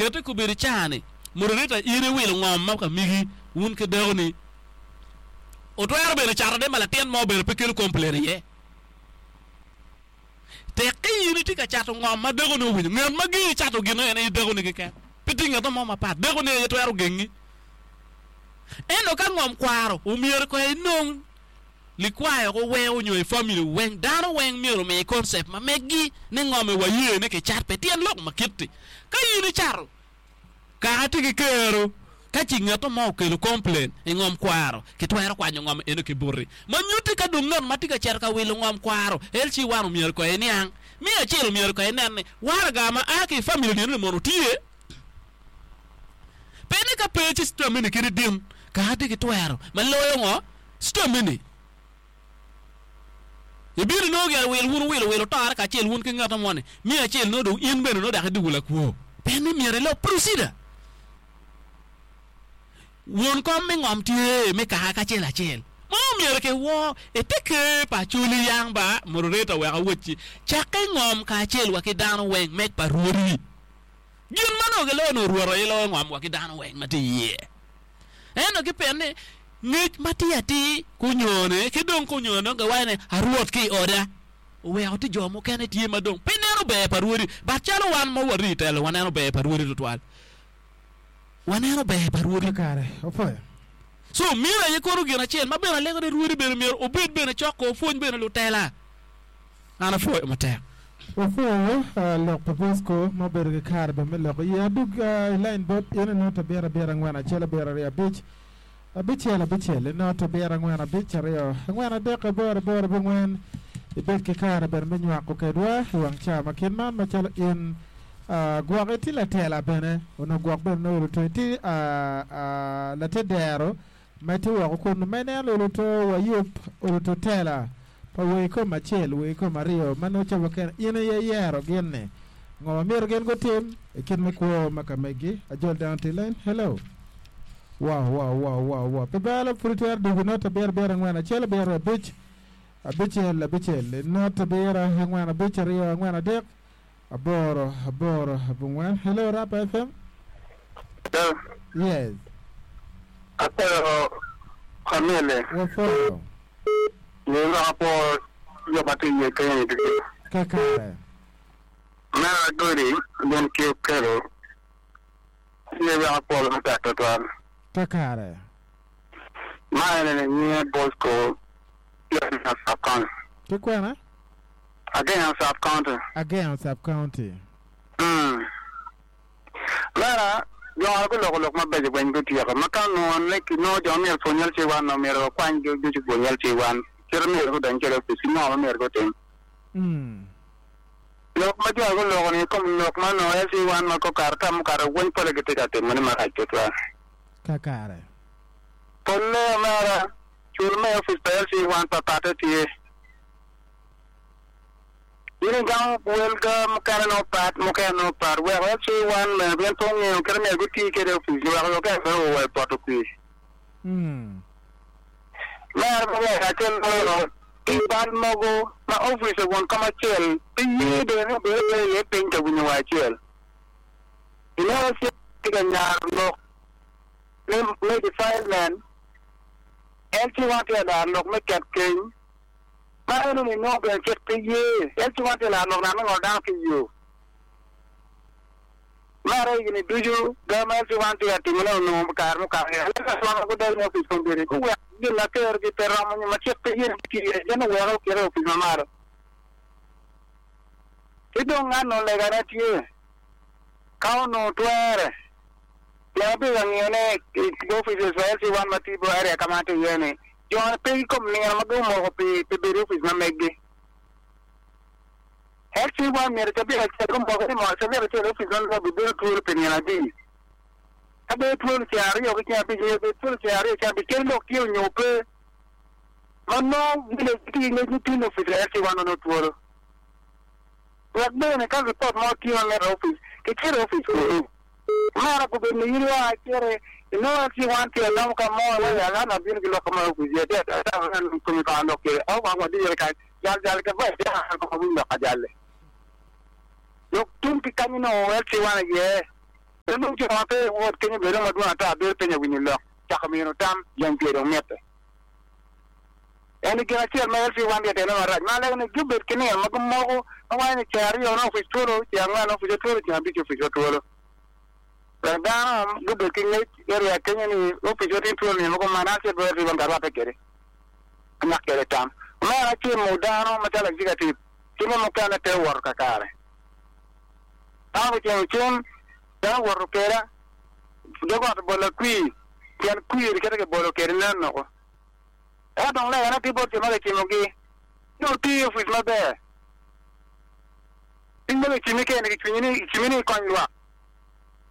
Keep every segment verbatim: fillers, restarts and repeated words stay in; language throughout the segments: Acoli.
Kete kubedi cani moderator in iwilo ngom ma ka migi wun ki dako ni otwero bene cato ne ma latin mo bene pe kelo complain iye. Tek ka in itye ka cato ngom ma dako ni owinyo ngat ma gengi cato gin en aye dako ni keken pe tye ngat mo mapat dako ni aye twero gengi. Ento ka ngom kwaro omyero ko inong likwayo ko weng onyo i family weng dano weng myero omi concept ma meggi ni ngom e waye ni kicat pe tyen lok ma kiti. Ka in icato kaka tye ki kero ka ci ngat mo okelo complain i ngom kwaro kitwero kwanyo ngom eno ki boti ma nyutti ka dong ngat ma tye ka cito ka wilo ngom kwaro L C one omyero ko iniang me acel omyero ko inen ni waraga ma a ki i family ni mono tye pe ni ka pe ci system ni kidi din kaka tye ki twero ma loyo ngo system ni ibino inongo gire wil wun wilo wilo tore kacel wun ki ngat mo ni me acel nongo dong in bene nongo dok idwogo lakwo pe ni myero ilok procedure. Won kom me ngom tye me kaka kacel acel ma omyero ki wor ite ker pa Acholi yang ba moderator wek awocci cakke ngom kacel wa ki dano weng mek pa rwodi gin ma nongo giloyo nongo rwot aye loyo ngom wa ki dano weng ma tye iye ento ki pien ni ngec ma tye atir kunyone ki dong kunyone dong giwaco ni arwot ki i oda oweko ti jo mukene tye ma dong pe neno ber pa rwodi but calo wan ma wari telo waneno ber pa rwodi tutwal waneno ber pa rwodi. Kakare, opwoyo. So mino aye kono gin acel ma bene alego ni rwodi bene myero obed bene cok ko opwony bene lutela. An apwoyo matek. Wapwoyo lok pa Bosco ma obedo ki kare bene me lok iye. Adug i line bot in i not abiro abiro angwen acel abiro aryo abic abicel abicel i not abiro angwen abic aryo angwen adek aboro aboro abongwen ibed ki kare bene me nywako kedwa i wang ca ma kit man macalo in gwok itye latela bene onongo gwok bene nongo oluto itye late dero ma itye woko kun ma ineno oluto wayub oluto tela pa wei kom acel wei kom aryo ma nongo ca kene in aye iyero gin ni ngo ma myero gin gutim i kit me kwo ma ka megi ajol dano tye line hello wow wow wow wow wow pe balo pud itwero dugo not abiro abiro angwen acel abiro abic abicel abicel not abiro angwen abic aryo angwen adek aboro aboro abongwen hello Rap F M. Hello. Yes. Apwoyo Kamele. Wapwoyo. Ni lok apwo jo ma tye iye kenyo ni ducu. Kakare. Mera Agodi gin ki okelo tye wek apwolo matek twatwal. Kakare. Ma ene ni nyinge Bosco Agenga Sub County. Ki kwena? Agenga Sub County. Agenga Sub County. Mm. Mera, jo guloko lok mabeco weng gutyeko. Ma ka onongo ni kinongo jo myero pwony L C one omyero wakwany ducu pwony L C one. Cito myero gudony kwede opic ki ngo ma myero gutim. Mm. Lok ma jo guloko ni kom lok ma onongo L C one ma kokato ka mukato weng pole gitye ka timo ni marac tutwal. Kakare. Polle omera, cul me opic pa L C one papatte tye. In igamo welga mukene no pat mukene no pat weko L C one bene pien pe ong'eyo kite myero gutii kede opic weko okene bene owa i poto kwir. Mm. Mere pe weko acel loyo ki bal mogo ma opic won kom acel pe ye bene ni obedo pe iye piny ka winyo wa acel. Ineno acel tye ka nyaro lok me, me defilement L C one tye ka laro lok me ket keny ma eno ni nongo bene cik pe ye L C one tye ka laro lok nat me ngolo dano ki yo. Mere higni ducu ga ma L C one tye ka timone onongo kare mukato ni L C one gudonyo i opic kombeddi guwek gin ma kerogi pe romo nyo ma cik pe ye ni tye gin oweko okete i opic ma malo. Ki dong ngano legane tye ka onongo twere pien abedo ka ngiyone i offices pa L C one ma tye i area ka ma atye iye ni jo pe ki kom nino ma gumoko pi pi bedo i opic ma meggi. L C one myero cabit acel gumoko ni mo cabit acel opic ma meggi bedo twolo pi nino adi. Ka bedo twolo ceng aryo ki ceng abic myero bed twolo ceng aryo ceng abic kadi lok tye onyo pe. Ma nongo village tye ki ngec ni tin opic L C one onongo twolo. Wek bene ka report mo tye ma mitte opic kicito i opic kunu. Mara gubedo ni in wa cere inongo L C one tye alamo ka mo wa ya lana bino ki lok ka mo opic ye tye ata komi ka lok kede au ka wadire ka jal jal ka ba ya ko ma winy lok ka jalle. Lok tum ki kanyo no L C one aye. Nung jo ma pe wot kenyo bedo madwong ata bedo piny awinyo lok cako mino tam jang pye dong mitte. En gin achiel ma L C one tye tene marach ma lego ni gibed ki nino ma gimoko ma waco ni ceng aryo no opic twolo ceng angwen opic twolo ceng abic opic twolo. Wek dano gibed ki ngec area kenyo ni opic tye twolo nino mogo man acel bene L C one ka rwatte kwede anyak kwede tam. Omera acimo dano macalo executive cime mukene pe owoto kakare. Dano gucimo cim dano owoto keda dog ot bolo kwir pien kwir kite kibolo kede nen noko. Eka dong legane tye bot jo ma kicimogi ni oti opic maber. Piny ma kicimi kene kicwinyi ni kicimi ni ikony lwak.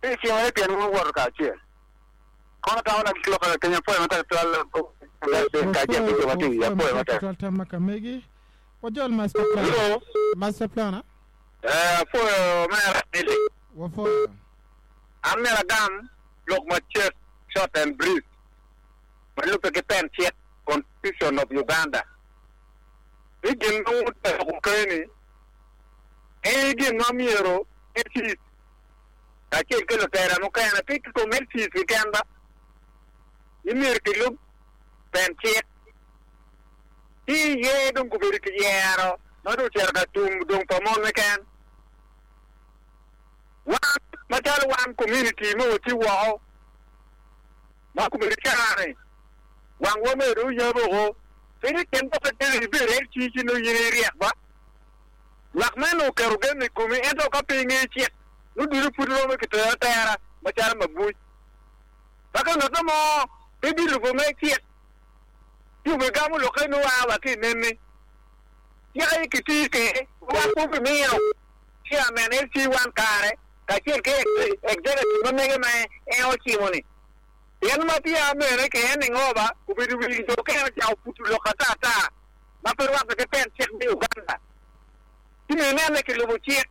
Pe icimo ni pien wun wuwoto kacel. Kono tamo na gik lok kaka kenya apoyo matek twal kacel ki jo ma tye i apoyo matek. Twal tam ma kamegi. Wajol master plan. Hello. Master plan ah? Eh, apoyo mera Mili. Wafoyo. An mera gam lok macek short and brief. Malube ki pen cik Constitution of Uganda. Ni gin ma wuteko keni en gin ma myero L C kacel ki lutela mukene pe ki kom L C keken ba ni myero kilub pen cik ci ye dong gubedo ki yero ma dong ocito ka tum dong pa mon keken wan macalo wan community ma watye woko ma kobedo cani wang wa medo oyabo ko piny kin boke tene ibedo L C ci nongo in iryek ba lwak meno oketo gen i komi ento ka pe inge cik nongo ducu pud romo kitero atera macalo mabuc paka ngat mo pe bilubo me cik ci obigamo lokke nongo aa wa ki i neni cik aye kiti kede wan pe obimiyo chairman L C one kare kacel ki executive ma mege ma en ocimo-ni pien ma tye mene ke en ningoba obedo wi jo kene ocako puto lok ata ata ma pe rwatte ki pen cik me Uganda ci myero inene kilubo cik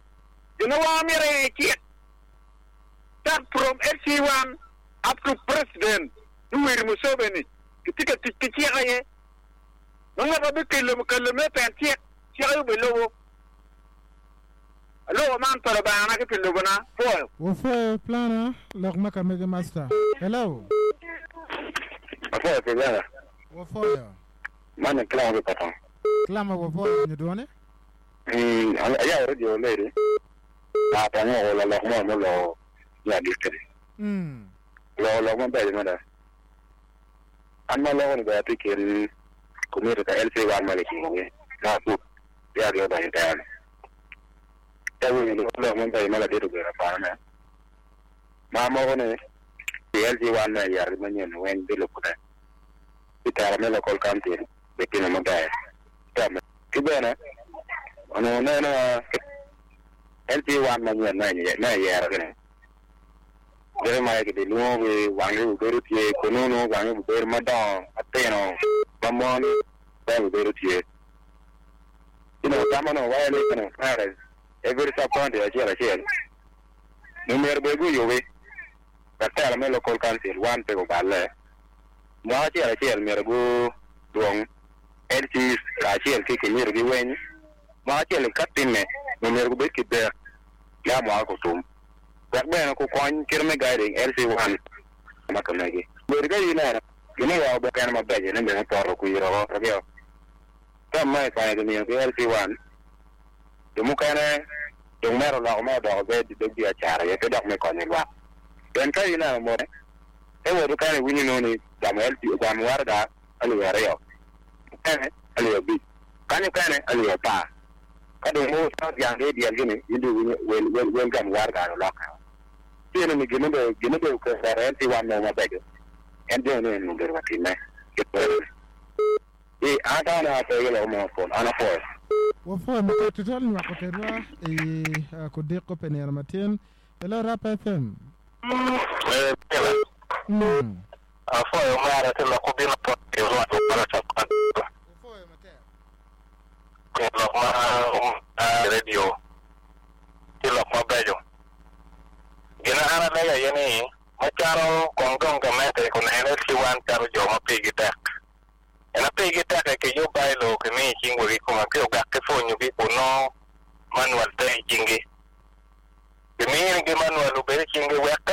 gin ma wan wamito aye cik start from L C one up to president Yoweri Museveni kitye ka tic ki cik aye ma ngat ma bikelo kelo me pen cik cik aye obilubo aloko man pa Lubanga ki pi lubona pwoyo. Wafoyo plana lok ma kamegi master. Hello. Apoyo kijana. Wafoyo. Mane klamo ki patong. Klama wafoyo nyudwone. Mm, aya radio lady. Na tango ko la lok mo mo lo ya district. Mm. Lo lok maber mada. An ma loko ni ba ati kin community ka L C one ma ki na pu ya dio ba intern. Ta wi lo lok maber ma la dito bera pa na. Ma mo ko ni L C one na ya ma nyen wen bi lo kude. Itara me local county be timo maber. Tama. Ki bene ono neno L C one ma nyen na na yero kene. Jere ma ki luongo ki wangi obedo tye konono wangi obedo madongo atino ma mon be obedo tye. You know, tama no waya ni kano kare every sub county achiel achiel. Myero bed guyubi ka telo me local council one pe oballe. Mwaka achiel achiel myero gu duong L C kacel ki kimiro gi weny. Mwaka achiel ka time myero gubed ki ber ya mwaka kutum. Wek bene ku kony kit me guiding L C one ma kamegi. Bed ka ineno gini wa obo kene mabeco ni bene poto kwiro ko ragio. Ka ma ikwanyo kimiyo ki L C one jo mukene dong mero loko me odoko bed dog biacara ye pe dok me konyo lwak. Pien ka ineno mo e woto kene iwinyo nongo ni gamo L C gamo waraga alip aryo mukene alip abic kanyo kene alip apar ka dong mo yang ki dyel gini in dong iwinyo wel wel wel gamo waraga olokke. Tiene ni gine be gine be okero L C one mo mabeco en jo ni en obedo ka time. I an tana pe gi loko mo pol an apoyo. Wafoyo matek tutwal nywako kedwa i uh, kudiko pe nino matin. Hello Rap F M. Eh, Mm. afoyo mara te loko bino po rwako para sa Wafoyo matek. lok ma radio ti lok mabeco gin an alega ye ni macalo kong dong gamente kunene ci wan calo jo ma pigi tek en pigi tek ki yub bylaw ki miyo cing wegi kuma ki ogak ki pwonyogi kuno manual te i cingi gimiyogi manual obed i cingi wek ka